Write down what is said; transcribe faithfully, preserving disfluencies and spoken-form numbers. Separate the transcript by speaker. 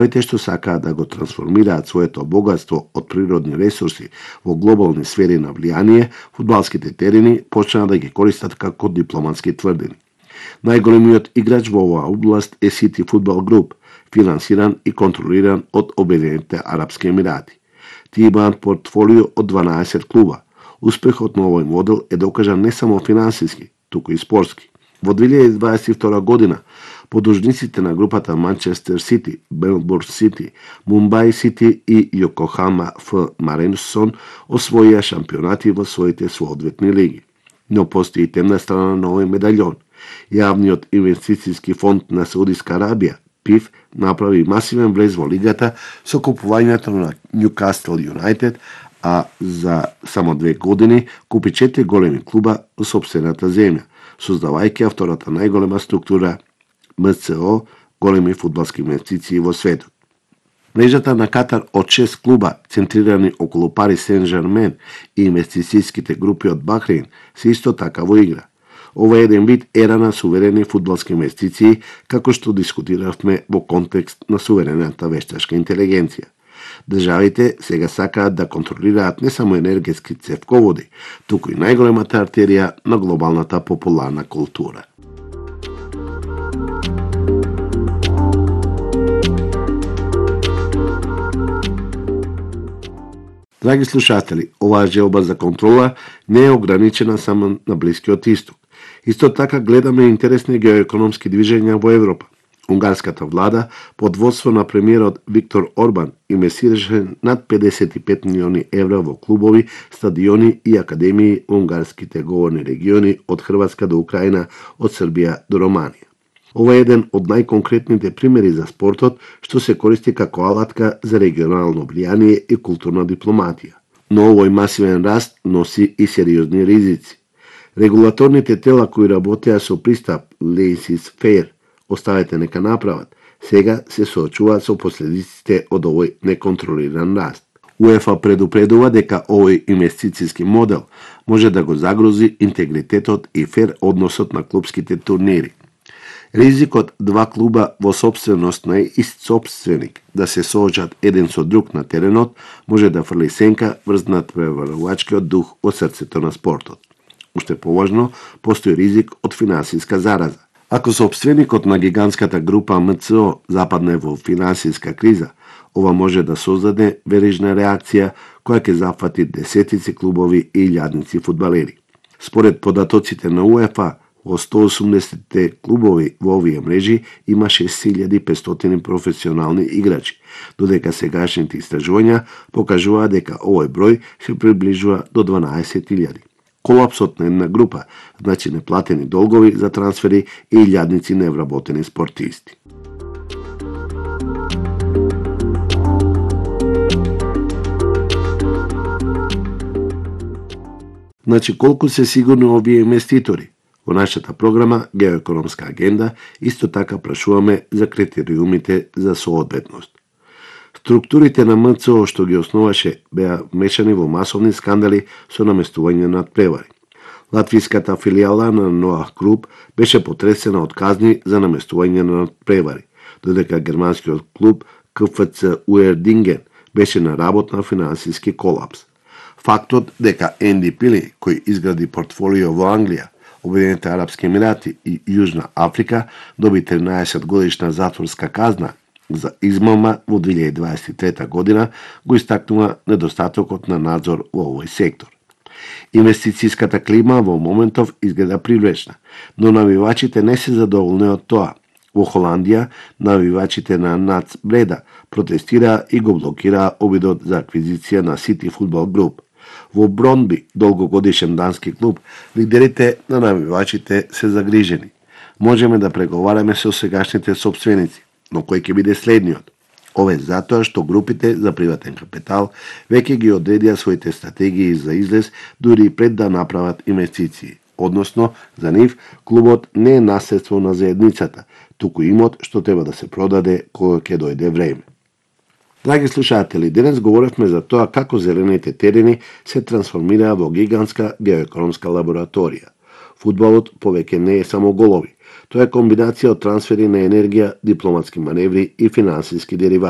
Speaker 1: Државите што сакаат да го трансформираат своето богатство од природни ресурси во глобални сфери на влијание, фудбалските терени почнаа да ги користат како дипломатски тврдини. Најголемиот играч во оваа област е City Football Group, финансиран и контролиран од Обединетите Арапски Емирати. Тие имаат портфолио од дванаесет клуба. Успехот на овој модел е докажан не само финансиски, туку и спортски. Во две илјади дваесет и втора година, подужниците на групата Манчестер Сити, Мелбурн Сити, Мумбај Сити и Јокохама Ф Маринсон освоија шампионати во своите соодветни лиги. Но постои и темна страна на овој медаљон. Јавниот инвестициски фонд на Саудиска Арабија, ПИФ, направи масивен влез во лигата со купувањето на Ньюкасл Юнајтед, а за само две години купи четири големи клуба во сопствената земја, создавајќи втората најголема структура М Ц О, големи фудбалски инвестиции во светот. Мрежата на Катар од шест клуба, центрирани околу Пари Сен-Жермен и инвестицијските групи од Бахрейн, се исто така во игра. Ова е еден вид ера на суверени фудбалски инвестиции, како што дискутиравме во контекст на суверената вештачка интелигенција. Државите сега сакаат да контролираат не само енергетски цевководи, туку и најголемата артерија на глобалната популарна култура. Драги слушатели, оваа желба за контрола не е ограничена само на Блискиот Исток. Исто така гледаме интересни геоекономски движења во Европа. Унгарската влада, под водство на премиерот Виктор Орбан, инвестираше над педесет и пет милиони евра во клубови, стадиони и академии во унгарските говорни региони од Хрватска до Украина, од Србија до Романија. Ова е еден од најконкретните примери за спортот што се користи како алатка за регионално влијание и културна дипломатија. Но овој масивен раст носи и сериозни ризици. Регулаторните тела кои работеа со пристап laissez faire, оставете нека направат, сега се соочуваат со последиците од овој неконтролиран раст. УЕФА предупредува дека овој инвестициски модел може да го загрози интегритетот и фер односот на клупските турнири. Ризикот два клуба во собственост на ист собственик да се соочат еден со друг на теренот може да фрли сенка врз надпреварувачкиот дух во срцето на спортот. Уште поважно, постои ризик од финансиска зараза. Ако собственикот на гигантската група М Ц О западне во финансиска криза, ова може да создаде верижна реакција која ќе зафати десетици клубови и илјадници фудбалери. Според податоците на УЕФА, во сто и осумдесет клубови во овие мрежи има шест илјади и петстотини професионални играчи, додека сегашните истражувања покажуваат дека овој број се приближува до дванаесет илјади. Колапсот на една група значи неплатени долгови за трансфери и илјадници невработени спортисти. Значи колку се сигурни овие инвеститори? Во нашата програма Геоекономска агенда исто така прашуваме за критериумите за соодветност. Структурите на М Ц О што ги основаше беа вмешани во масовни скандали со наместување на превари. Латвиската филијала на Ноах Груп беше потресена од казни за наместување на превари, додека германскиот клуб К Ф Ц Уердинген беше на работ на финансиски колапс. Фактот дека Енди Пили, кој изгради портфолио во Англија, Обединетите Арапски Емирати и Јужна Африка, доби тринаесет годишна затворска казна за измама во две илјади дваесет и трета година, го истакнува недостатокот на надзор во овој сектор. Инвестицијската клима во моментов изгледа привлечна, но навивачите не се задоволни од тоа. Во Холандија, навивачите на Нац Бреда протестираа и го блокираа обидот за аквизиција на City Football Group. Во Бронби, долгогодишен дански клуб, лидерите на навивачите се загрижени. Можеме да преговараме со сегашните собственици, но кој ќе биде следниот? Ове затоа што групите за приватен капитал веќе ги одредија своите стратегии за излез дури и пред да направат инвестиции. Односно, за нив клубот не е наследство на заедницата, туку имот што треба да се продаде кога ќе дојде време. Драги слушатели, денес говоревме за тоа како зелените терени се трансформираа во гигантска геоекономска лабораторија. Фудбалот повеќе не е само голови, Тоа е комбинација од трансфери на енергија, дипломатски маневри и финансиски деривати.